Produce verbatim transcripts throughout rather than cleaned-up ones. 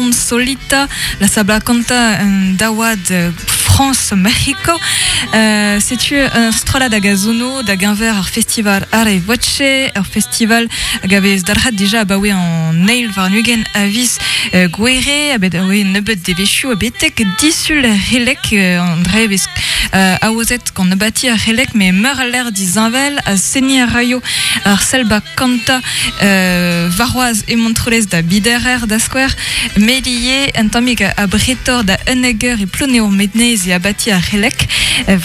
Consolita, la sabla kanta un daouad euh, France Mexico. Euh, setu un strollad hag a zono da geñver ar festival Are Voce, ur festival hag a vez dalc'het dija abaoe an eil warn-ugent a viz euh, Gouere, a bet oe nebeut devezhioù a betek disul relek euh, an dre vez euh, aozet gant abati ar relek me meur a l'air dizinvel a seni a raio ar selba kanta euh, varroaz e Montrolez da biderer da skouer melie un tammig a bretor da unegger e ploneo mednez e abati ar relek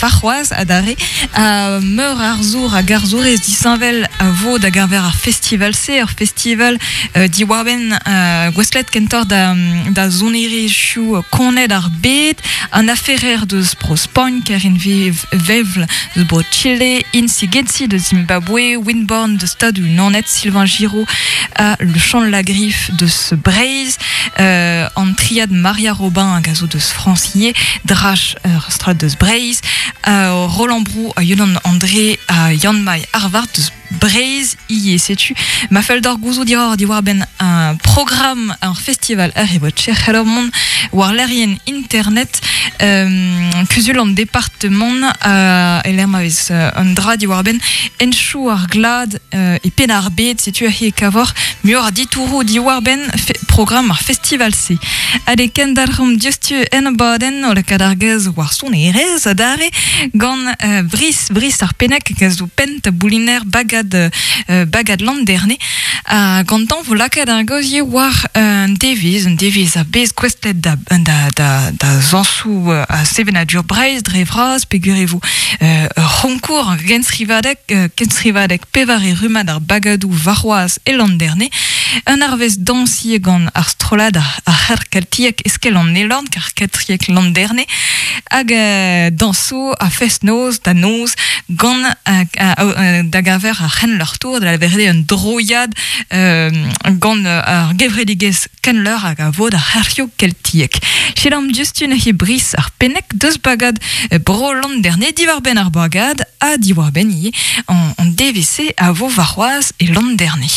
varroaz a dare a meur ar zour a garzourez disinvel a vo da geñver ar festival se ar festival euh, diwarben euh, gwestlet kentor da, da zonerezhioù koned ar bed an aferer deus bro Spagn Karin Vev- Vevl deus bro Chile Insi Gensi de Zimbabwe Winborn de Stade Naoned Sylvain Giraud a le Chant de la Griffe deus Breizh euh, an triad Maria Robin hag a zo deus Francier Drach ur strollad deus Breizh euh, Roland Brou a Yolan André a Yann Mai Harvard deus Breizh ie setu ma fell d'ar gouzout diwar diwar ben un programme un festival ar e vot cher mont war lerien internet euh, kuzul an departement euh, e lec'h ma vez euh, un dra diwar ben enchou ar glad euh, e pen ar bed setu ar he kavor muioc'h a ditourou diwar ben fe programme ar festival se. Ade kendarc'hom diouzhtu en abadenn o lakaat ar gaoz war sonerezh adarre gant euh, Brice, Brice ar Pennec hag a zo penn tabouliner bagad, euh, bagad Landerne a gantañ vo lakaat ar gaoz ivez war un devezh, un devezh a bez gouestlet da, da, da, da zañsoù euh, a sevenadur Breizh dre vras peogwir e vo euh, ur c'honkour genstrivadeg euh, genstrivadeg pevare rummad ar bagadoù warc'hoazh e Landerne un arvest dañs ivez gant ar strollad ar, ar c'her keltiek eskel an Elorn kar keltiek Landerne hag euh, dañsoù a fest-noz da noz gant euh, euh, da geñver ar c'henleur tour da lavaret un droiad euh, gant ar gevredigezh kenleur hag a vo da c'herioù keltiek. Selaomp diouzhtu neuze Brice ar Pennec deus bagad euh, bro Landerne diwar-benn ar bagad ha diwar-benn ivez an, an D V C a vo warc'hoazh e Landerne.